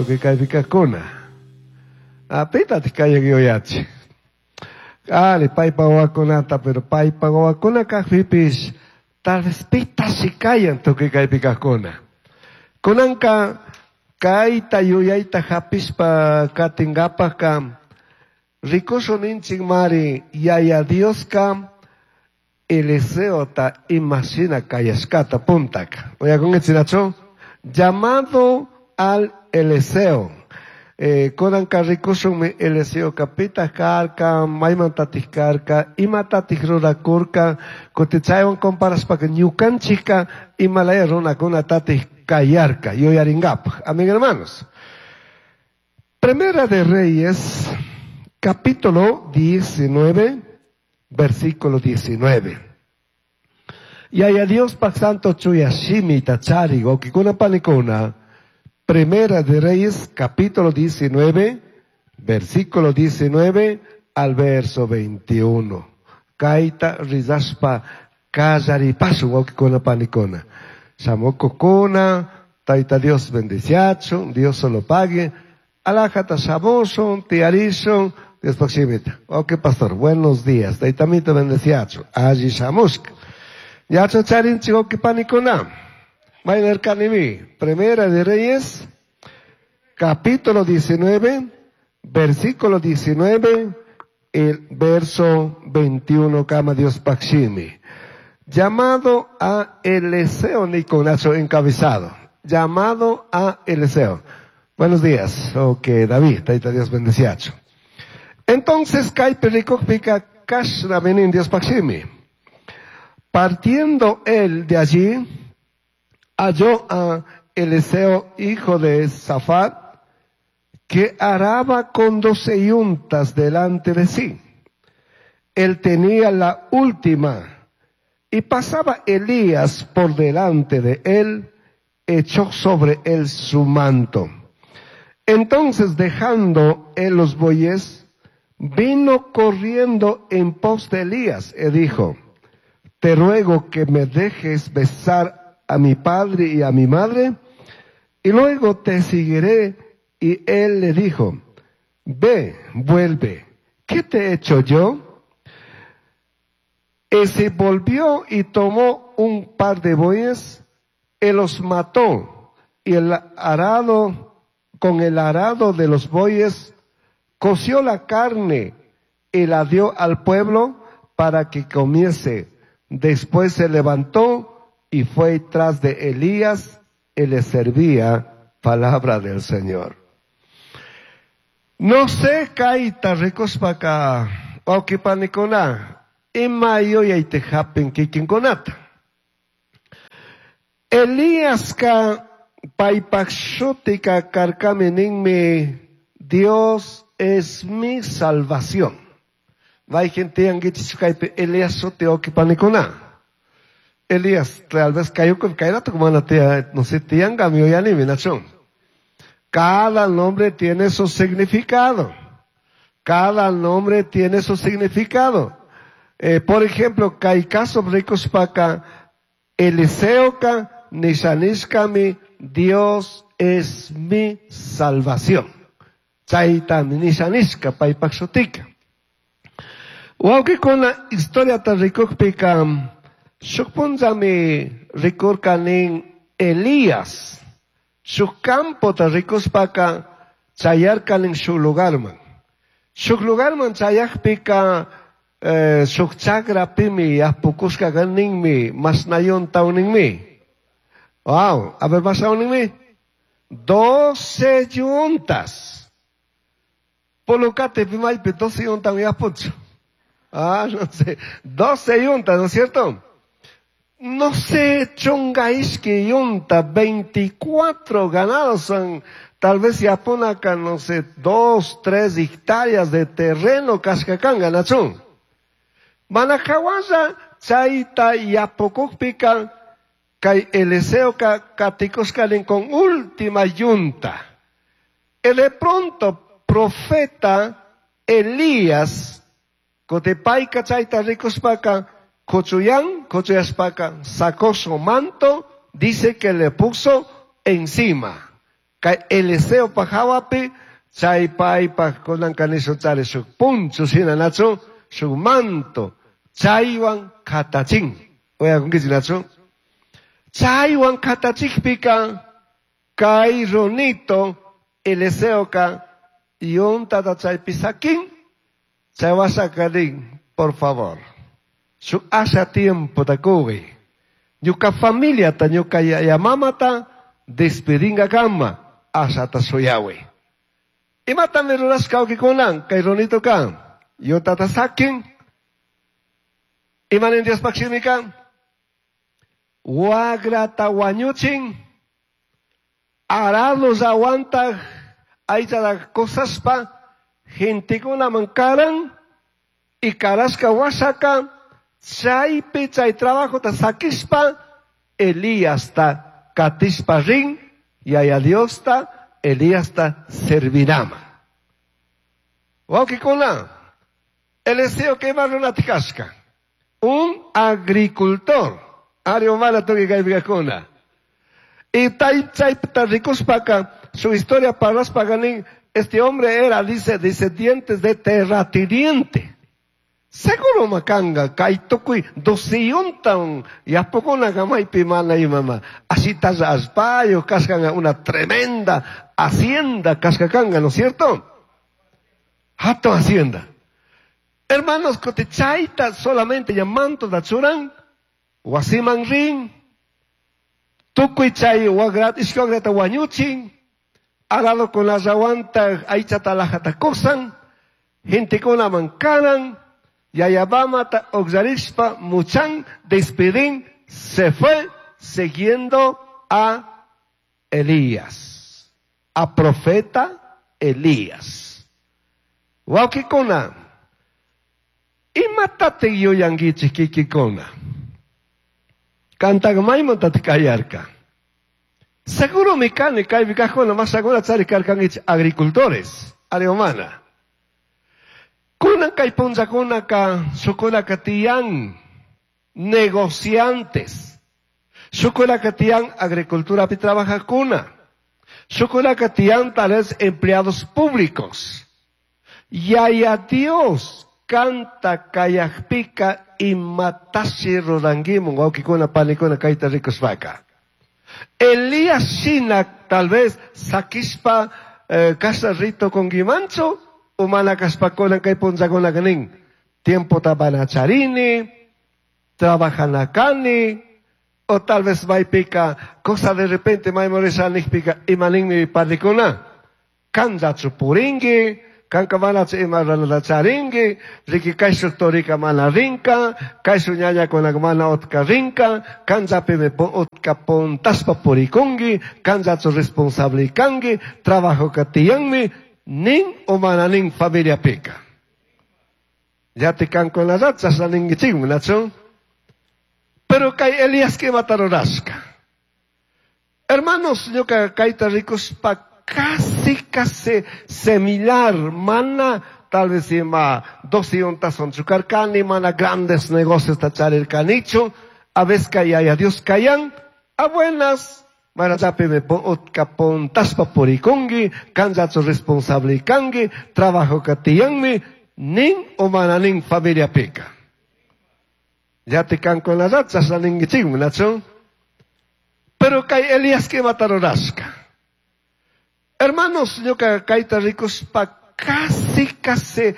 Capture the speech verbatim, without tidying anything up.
Tukuy kaypi kajkuna. Pitataq kayak yuyachi. Ali, paypa wawakunata, pero paypa wawakuna kajpipis, tal vez pitashi kayan tukuy kaypi kajkuna. Kunanka kayta yuyayta hapishpa katinkapajka rikushun ninchik mari Yaya Dioska Eliseota imashina kayashkata puntaka. Uyakunkichinachu? Llamado al Eliseo. Eh, kunanka rikushunmi Eliseo pitaq karka, maymantatik karka, imatatik rurakurka, kutin chaywan comparashpaka ñukanchikka imalaya runakunatatik kayarka, yuyarinkapaj. Amén, hermanos. Primera de Reyes, capítulo diecinueve, versículo diecinueve. Yaya Diospaj santo chuya shimita chari, wawkikuna panikuna. Primera de Reyes, capítulo diecinueve, versículo diecinueve al verso veintiuno. Kaita rizaspa kallaripasu, wawkikuna panikuna. Shamukukuna, Taita Dios bendiciacho, Dios solo pague. Alajata shamushun, tiarishun, Dios proximita. Ok, pastor, buenos días. Taitamito bendeciacho. Allí shamushka. Yacho charin chico que panikuna. Mainer kanimi. Primera de Reyes, capítulo diecinueve, versículo diecinueve, el verso veintiuno, kama Dios paximi. Llamado a Eliseo Niconacho encabezado. Llamado a Eliseo. Buenos días. Ok, David, Taita Dios bendeciacho. Entonces, kaypi rikukpika kashna benin Dios paximi. Partiendo él de allí, halló a Eliseo, hijo de Safat, que araba con doce yuntas delante de sí. Él tenía la última, y pasaba Elías por delante de él, echó sobre él su manto. Entonces, dejando él los bueyes, vino corriendo en pos de Elías y dijo: te ruego que me dejes besar a mi padre y a mi madre, y luego te seguiré. Y él le dijo: ve, vuelve, ¿qué te he hecho yo? Y se volvió y tomó un par de bueyes, y los mató, y el arado, con el arado de los bueyes, coció la carne y la dio al pueblo para que comiese. Después se levantó y fue tras de Elías y le servía. Palabra del Señor. No sé, kaita rikushpaka, wawqipanikuna, ima yuyayta hapin kikinkunata. Elíasca paypaj shutika karkami ninmi, Dios es mi salvación. Mayqin tiyankichik kaypi Elías shuti wawqipanikuna. Elías, tal vez kayukupi kayrato mana tiya, no sé, tiyankami yuyanimi, nachun. Cada nombre tiene su significado. Cada nombre tiene su significado. Eh, por ejemplo, kay caso rikushpaka, Eliseoka nishanishkami, Dios es mi salvación. Chaytami nishanishka paypaj shutika. Wawqikuna historiata rikukpika, shuk punllami rikurkanin Elías. Shuk campota rikushpaka chayarkanin shuk lugarman. Shuk lugarman chayakpika, eh, shuk chakrapimi yapukushka kaninmi, masnayon tawninmi. Wow, a ver, masnayoninmi. Doce yuntas. Polocate pimaypi doce yuntas yapuchu. Ah, no sé. Doce yuntas, ¿no es cierto? No sé, chunga ishki yunta, veinticuatro ganados son, tal vez yapunaca, no sé, dos, tres hectáreas de terreno, kashkakanga, nachun. Manajawaya, chayta yapukukpika, kay Eliseo ka katikushkalin con última yunta. Y de pronto, profeta Elías, kotepayka chayta rikushpaka, Cochuyan, Cochuyaspaka, sacó su manto, dice que le puso encima. Kay Eliseo pa hawapi, chay paypaj kunanka nishun chari shuk punchu shina nachu, shuk manto, chaywan katachin. Uyakunkichik nachu? Chaywan katachikpika, kay runito Eliseoka yuntata chaypi sakin, chay wasaka rin, por favor, shuk asha tiempo ta kuwi. Ñuka familiata, ñuka yaya mamata, despedingakama, ashata shuyawi. Imatami rurashka wawkikuna, kay runito ka, yuntata sakin, imanin Diospaj shimika, wagrata wañuchin, arado rawantaq aychata kusashpa, gentekunaman karan, y karashka washaka, chaypi chay trabajota sakishpa, Elíasta katishpa rin, yaya Diosta, Elíasta servirama. Wawkikuna, Eliseo kema runatikashka, un agricultor, ari umana tukuy kaypikakuna. Y tay chaypita rikushpaka, su historia parashpaka nin, este hombre era, dice, descendientes de terrateniente. Seguro makanga, kay tukuy dosiyuntan, yapukuna maypi mana imama. Así allpayo, kashkanga una tremenda hacienda, kashkakanga, ¿no es cierto? Hatun hacienda. Hermanos, chayta solamente llamanto da churan, wasiman rin, tukuy chay wagrat, ishki wagrata wañuchin, arado con la rawanta aychata lajata kusan, gentekunaman karan, yayabamata oxarishpa muchan despedín, se fue siguiendo a Elías, a profeta Elías. Wawkikuna, imatataq yuyankichik kikikuna? Kantaqa maymantataq kayarka? Seguro mi kani kaypi kajkuna mashakuna chari karkankichik agricultores, ari umana. Kunan kay punllakunaka shukunaka tiyan negociantes. Shukunaka tiyan agriculturapi trabajajkuna. Shukunaka tiyan tal vez empleados públicos. Yaya Dios kanta kayajpika imatashi rurankimun wawkikuna panikuna kayta rikushpaka. Elías shina tal vez sakishpa eh, kasha rito kunkimanchu, umana kashpakuna kay punllakunaka nin. Tiempo tabanacharini, trabajanakani, o tal vez maypika, cosa de repente maymorisha nikpika imaninmi panikuna. Kanllachu purinki, kanka manachu ima ruranata charinki, riki kayshuk torika mana rinka, kayshuk ñañakunaka mana utka rinka, kanllapimi utka puntashpa purikunki, kanllachu responsable kanki, trabajoka tiyanmi, nin o mana nin familiapika. Yati kankunallata chashna ninkichikmi, nachu? Pero kay Elías imata rurashka. Hermanos, ñuka kayta rikushpa casi, casi similar, mana tal vez ima dos yuntasun karkani, mana grandes negocios ta charirkanichu, a veces yaya Dios kayan, a buenas, mana chapimi utka puntashpa purikunki, kanllachu responsable kanki, trabajo tiyanmi, nin o mana nin familiapika. Yati kankunallata chashna ninkichikmi, nachu? Pero kay Elías imata rurashka. Hermanos, ñuka kayta rikushpa casi, casi